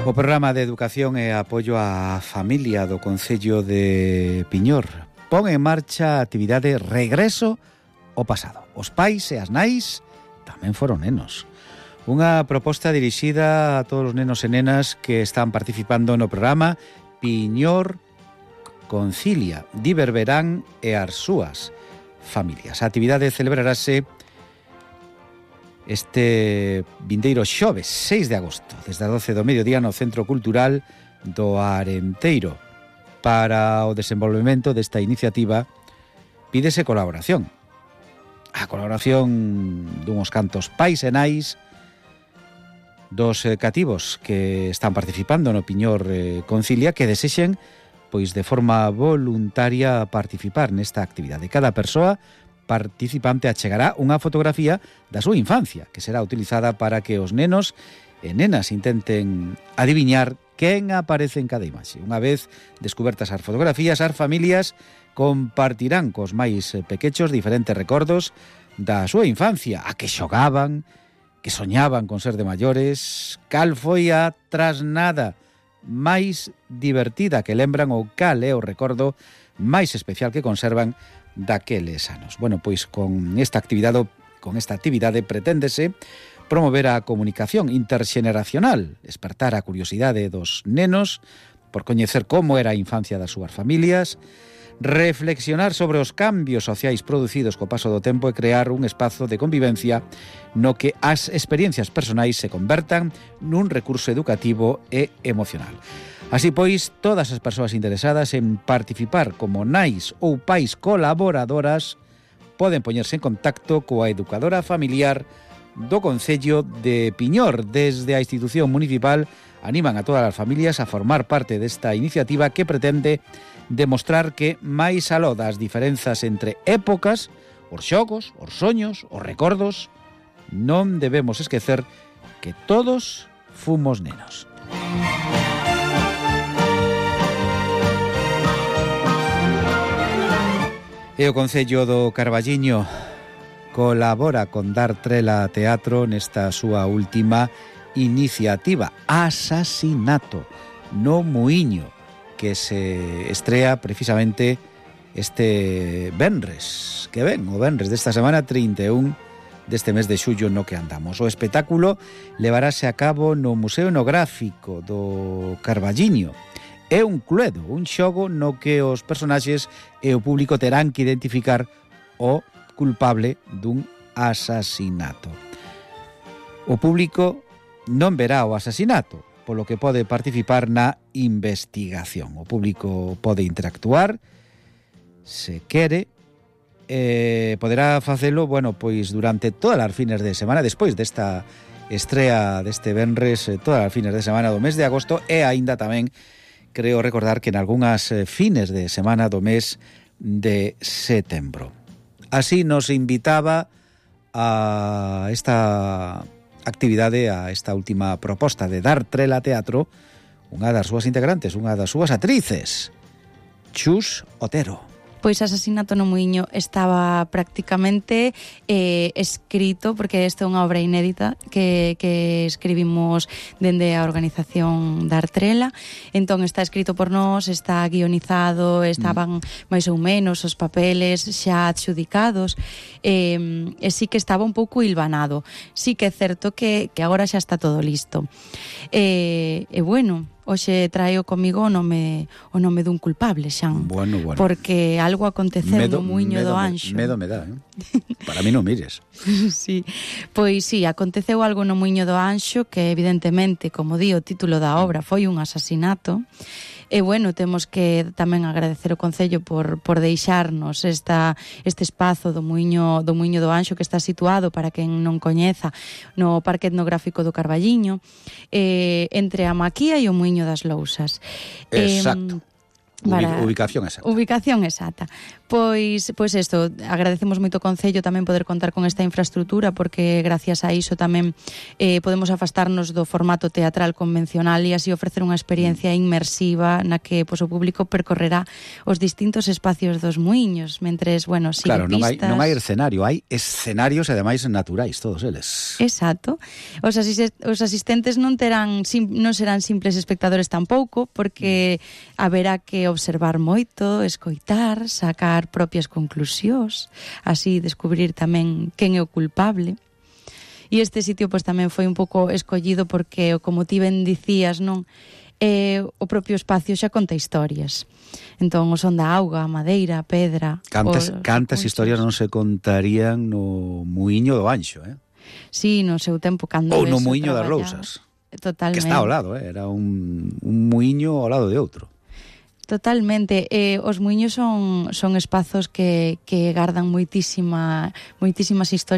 O programa de educación e apoio á familia do Concello de Piñor pon en marcha a actividade Regreso ao Pasado. Os pais e as nais tamén foron nenos. Unha proposta dirixida a todos os nenos e nenas que están participando no programa Piñor Concilia, Diverberán e as súas familias. A actividade celebrarase este vindeiro xoves 6 de agosto, desde as 12 do mediodía no Centro Cultural do Arenteiro. Para o desenvolvemento desta iniciativa pídese colaboración. A colaboración dunhos cantos pais e nais dos cativos que están participando no Piñor Concilia que desexen, pois de forma voluntaria, participar nesta actividade. Cada persoa participante achegará unha fotografía da súa infancia, que será utilizada para que os nenos e nenas intenten adiviñar quen aparece en cada imaxe. Unha vez descubertas as fotografías, as familias compartirán cos máis pequechos diferentes recordos da súa infancia, a que xogaban, que soñaban con ser de maiores, cal foi a trasnada máis divertida que lembran ou cal é o recordo máis especial que conservan daqueles anos. Bueno, pois con esta actividade preténdese promover a comunicación interxeneracional, despertar a curiosidade dos nenos por coñecer como era a infancia das súas familias, reflexionar sobre os cambios sociais producidos co paso do tempo e crear un espazo de convivencia no que as experiencias personais se convertan nun recurso educativo e emocional. Así pois, todas as persoas interesadas en participar como nais ou pais colaboradoras poden poñerse en contacto coa educadora familiar do Concello de Piñor. Desde a institución municipal animan a todas as familias a formar parte desta iniciativa que pretende demostrar que, máis aló das diferenzas entre épocas, os xogos, os soños, os recordos, non debemos esquecer que todos fomos nenos. E o Concello do Carballiño colabora con Dar Trela Teatro nesta súa última iniciativa, Asasinato no Muiño, que se estrea precisamente este venres, que ven, o venres desta semana 31 deste mes de xullo no que andamos. O espectáculo levarase a cabo no Museo Etnográfico do Carballiño. É un cluedo, un xogo no que os personaxes e o público terán que identificar o culpable dun asasinato. O público non verá o asasinato, polo que pode participar na investigación. O público pode interactuar, se quere, poderá facelo, bueno, pois durante todas as fines de semana, despois desta estrea deste venres, todas as fines de semana do mes de agosto, e aínda tamén creo recordar que en algunhas fines de semana do mes de setembro. Así nos invitaba a esta actividade, a esta última proposta de Dar Trela Teatro, unha das súas integrantes, unha das súas actrices, Chus Otero. Pois Asasinato no Muiño estaba prácticamente escrito, porque esta é unha obra inédita que escribimos dende a organización Dar Trela. Entón está escrito por nós, está guionizado, estaban máis ou menos os papeles xa adxudicados, e sí que estaba un pouco hilvanado. Sí que é certo que agora xa está todo listo. E bueno, hoxe traio comigo o nome dun culpable, Xan. Bueno. Porque algo aconteceu no Muiño do Anxo. Medo me dá, Para mí non mires. Sí. Pois sí, aconteceu algo no Muiño do Anxo que evidentemente, como di o título da obra, foi un asasinato. E bueno, temos que tamén agradecer o Concello por deixarnos este espazo do Muiño do Anxo, que está situado, para quen non coñeza, no Parque Etnográfico do Carballiño, entre a Maquía e o Muiño das Lousas. Exacto. Ubicación exacta. Ubicación exacta. Pois isto, agradecemos moito o Concello tamén poder contar con esta infraestructura, porque gracias a iso tamén podemos afastarnos do formato teatral convencional e así ofrecer unha experiencia inmersiva na que pois, o público percorrerá os distintos espacios dos muiños, mentres, bueno, sigue Claro, pistas. non hai escenario, hai escenarios e ademais naturais, todos eles. Exacto. Os asistentes non serán simples espectadores tampouco, porque haberá que observar moito, escoitar, sacar propias conclusións, así descubrir tamén quen é o culpable. E este sitio pois tamén foi un pouco escollido porque, como ti ben dicías, non, o propio espacio xa conta historias. Entón, o son da auga, a madeira, a pedra... Cantas historias non se contarían no muiño do Anxo, Sí, no seu tempo, cando ou no muiño das Rousas. Totalmente. Que está ao lado, era un muiño ao lado de outro. Totalmente. Os muiños son espazos que gardan moitísimas historias